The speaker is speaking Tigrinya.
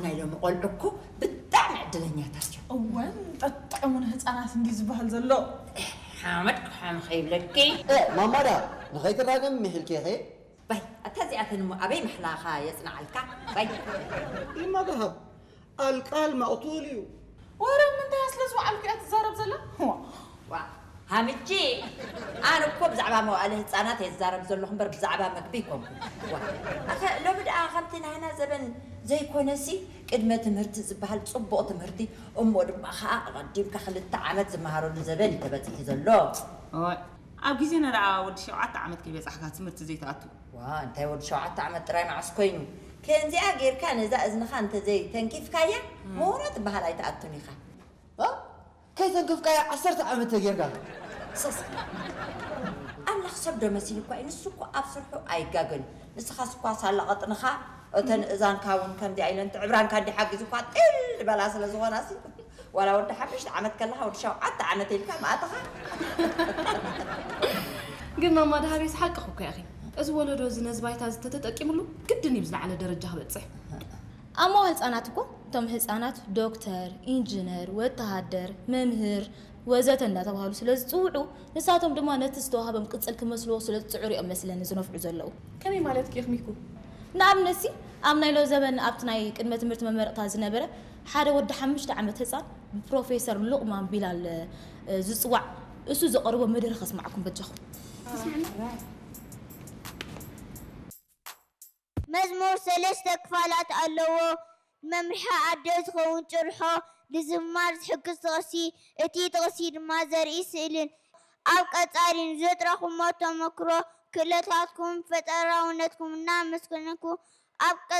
ናይ ሎሚ ቆልዑ እኮ ብጣዕሚ ዕድለኛታት እዮም። እወን ጠጥዕሙን ህፃናት እንዲ ዝበሃል ዘሎ። ሓመድ ክሓም ከይብለኪ። ማማዳ፣ ንኸይትራገም ምሒልኪ ኢኺ። ባይ፣ ኣታ እዚኣተን እሞ ኣበይ ምሕላኻ የጽንዓልካ? ባይ። ኢማድሃብ ኣልቃል መቕቱል እዩ። ወረ ምንታይ ስለ ዝወዓልኩ እያ ትዛረብ ዘላ? ዋ። ዋ፣ ሃምቺ፣ ኣነ እኮ ብዛዕባ መዋእለ ህፃናት እየ ዝዛረብ ዘለኹ እምበር ብዛዕባ መግቢ ኣይኮንኩን። ዋ፣ ኣኸ ሎሚ ደኣ ከምቲ ናህና ዘበን ዘይኮነሲ፣ ቅድመ ትምህርቲ ዝበሃል ፅቡቕ ትምህርቲ፣ እሞ ድማ ከዓ ኣቐዲምካ ክልተ ዓመት ዝመሃረሉ ዘበን እዩ ተበፂሑ ዘሎ። እዋይ፣ ኣብ ግዜና ደኣ ወዲ ሸውዓተ ዓመት ከይበጻሕካ ትምህርቲ ዘይትኣቱ። ዋ፣ እንታይ ወዲ ሸውዓተ ዓመት ጥራይ መዓስ ኮይኑ? ከምዚኣ ጌርካ ነዛ እዝንኻ እንተዘይ ተንኪፍካያ፣ ምሁሮ ትበሃል ኣይትኣቱን ኢኻ። እ? ከይተንክፍካያ ዓሰርተ ዓመት ተጌርካ። ሰስ ኣምላኽ ሰብ ዶ መሲልኳ እዩ? ንሱ እኮ ኣብ ስርሑ ኣይጋገን። ንስኻስ እኳ ሳላ ቐጥንኻ፣ እተን እዛንካ እውን ከምዚኣ ኢለን ትዕብራንካ እንዲ ሓጊዙኳ ጢል በላ ስለ ዝኾናሲ፣ ዋላ ወዲ ሓሙሽተ ዓመት ከለኻ ወዲ ሸውዓተ ዓመት ኢልካ ማእትኻ። ግን ማማ ደሃቤስ ሓቅኹ እኮ ኢኺ። እዚ ወለዶ እዚ ነዚ ባይታ እዚ ተተጠቂምሉ ግድን እዩ ዝለዓለ ደረጃ ክበጽሕ። ኣብ መዋል ህፃናት እኮ እቶም ህፃናት ዶክተር፣ ኢንጂነር፣ ወተሃደር፣ መምህር ወዘተ እንዳተባሃሉ ስለ ዝፅውዑ ንሳቶም ድማ ነቲ ዝተዋሃቦም ቅፅል ክመስልዎ ስለ ዝፅዕሩ እዮም መስለኒ ዝነፍዑ ዘለዉ። ከመይ ማለት ጌርሚኩ? ንኣብነት ሲ ኣብ ናይ ሎ ዘበን ኣብቲ ናይ ቅድመ ትምህርቲ መመረቕታ ዝነበረ ሓደ ወዲ ሓሙሽተ ዓመት ህፃን ብፕሮፌሰር ሉቕማን ቢላል እ፣ ዝፅዋዕ እሱ ዘቐርቦ መደረ ከስማዕኩም በጃኹም። መዝሙር ሰለስተ ክፋላት ኣለዎ። ንመምርሒ ኣደ ዝኸውን ጭርሖ፣ ንዝማር ዝሕግዝ ጥቕሲ፣ እቲ ጥቕሲ ድማ ዘርኢ ስእልን። ኣብ ቀጻሊ ንዘጥረኹሞ ተመክሮ፣ ክእለታትኩም፣ ፈጠራውነትኩም እናመስገንኩ፣ ኣብ ቀ-